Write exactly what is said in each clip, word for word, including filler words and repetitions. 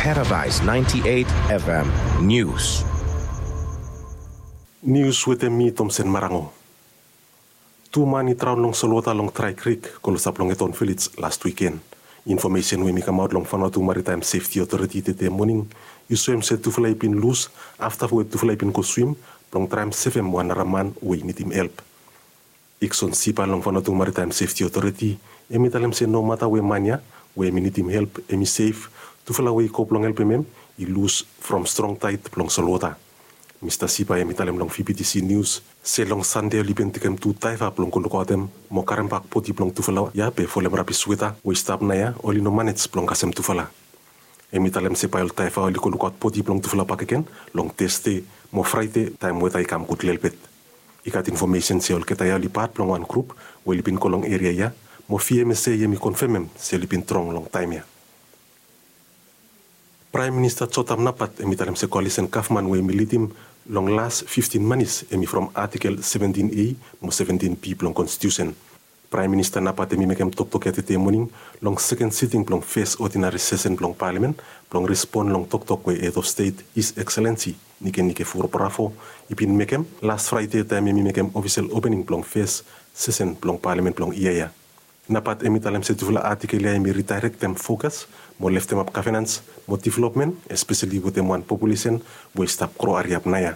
Paradise ninety-eight F M News. Nius wetem mi Tomsen Marango. Tu man i draon long solwota long Drai Krik, klosap long Eton Vilej, las wiken. Infomesen we i kamaot long Vanuatu Maritime Safety Authority tede moning i soem se tufala i bin lus afta we tufala i bin go swim blong traem sevem wan nara man we i nidim help. Ikson Sipa long Vanuatu Maritime Safety Authority, hem i talem se nomata we man ya we hem i nidim help hem i sef, tufala we i go blong helpem hem i lus from strong taed blong solwota. Mista Sipa hem i talem long V B T C Nius se long Sande oli bin tekem tu daeva blong go lukaotem mo karembak bodi blong tufala ya be folem rabis weta we i stap naoia oli no manej blong kasem tufala. Hem i talem se bae ol daeva oli go lukaot bodi blong tufala bakegen long Tesde mo Fraede taem weta i kam gud lelebet. I gat infomesen se olgeta ya oli pat blong wan grup we oli bin go long eria ya mo V M S A hem i konfemem se oli bin drong long taem ya. Praem Minista Jotam Napat hem i talem se koalisen gavman we hem i lidim long las fiftin manis hem i from Atikel seventin A mo seventin B blong Konstitiusen. Praem Minista Napat hem i mekem toktok ya tede moning long seken siting blong fes odinari sesen blong palamen blong respon long toktok we Head of State His Excellency Nikenike Vurobravor i bin mekem las Fraede taem hem i mekem ofisel opening blong fes sesen blong palamen blong yia ya. Napat hem i talem se tufala atikel ya hem i ridaerektem fokas mo leftemap gavenans mo developmen, espeseli wetem wan populesen we i stap gro hariap naoia.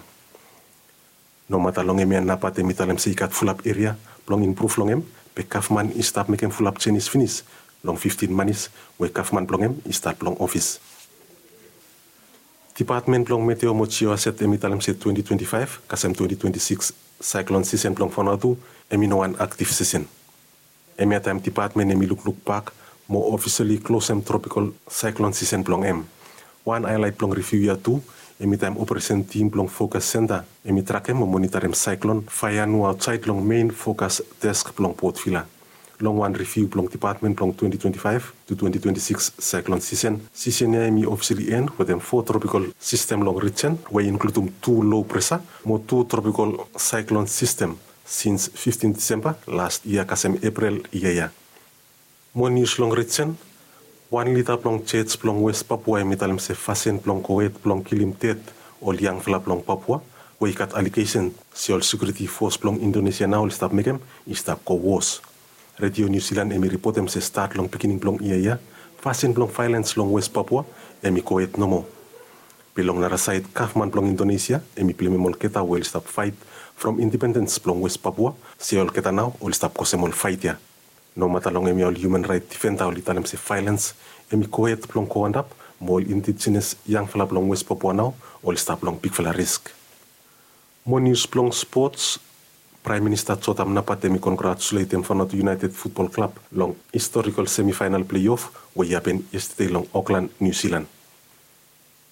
Nomata long hemia Napat hem i talem se i gat fulap eria blong impruv long hem, be gavman i stap mekem fulap jenis finis long fiftin manis we gavman blong hem i stat long ofis. Dipatmen blong Meteo mo Jioaset hem i talem se twenti twenti faef kasem twenti twenti sikis saeklon sisen blong Vanuatu hem i no wan aktiv sisen. Hemia taem dipatmen hem i lukluk bak mo ofisali klosem tropikol saeklon sisen blong hem. Wan haelaet blong riviu ya tu hem i taem operesen tim blong Fokas Senta hem i trakem mo monitarem saeklon Faianu aotsaed long mein fokas desk blong Port Vila. Long wan riviu blong dipatmen blong twenti twenti faef tu twenti twenti sikis saeklon sisen, sisen ya hem i ofisali en wetem fo tropikol sistem long rijen we i inkludum tu lo presa mo tu tropikol saeklon sistem sins fiftin Disemba las yia kasem Eprel yia ya. Mo nius long rijen. Wan lida blong jaj blong West Papua hem i talem se fasin blong gohed blong kilim ded ol yangfala blong Papua we i gat alegesen se ol sekiuriti fos blong Indonesia nao oli stap mekem i stap go wos. Redio Niu Silan hem i ripotem se stat long beginning blong yia ya fasin blong vaelens long West Papua hem i gohed nomo. Be long nara saed gavman blong Indonesia hem i blemem olgeta we oli stap faet from indipendens blong West Papua se olgeta nao oli stap kosem ol faet ya. Nomata long hemia ol hiuman raet difenda oli talem se vaelens hem i gohed blong go antap mo ol indijenes yangfala blong West Papua nao oli stap long bigfala risk. Mo nius blong spots. Praem Minista Jotam Napat hem i kongratuletem Vanuatu United Futbol Klab long historikol semifaenal pleiof we i hapen yestede long Oklan, Niu Silan.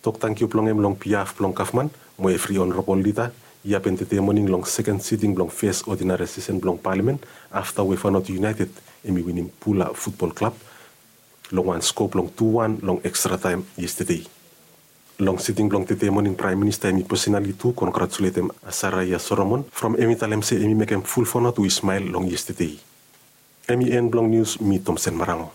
Tok tangkiu blong hem long biaf blong gavman mo evri onorabol lida i hapen tede moning long seken siting blong fes odinari sesen blong palamen afta we Vanuatu United hem i winim Pula Futbol Klab long wan sko blong tu wan long ekstra taem yestede. Long siting blong tede moning Praem Minista hem i pesonali tu kongratuletem Asaraia Solomon from hem i talem se hem i mekem ful Vanuatu i smael long yestede. Hem i en blong nius, mi Tomsen Marango.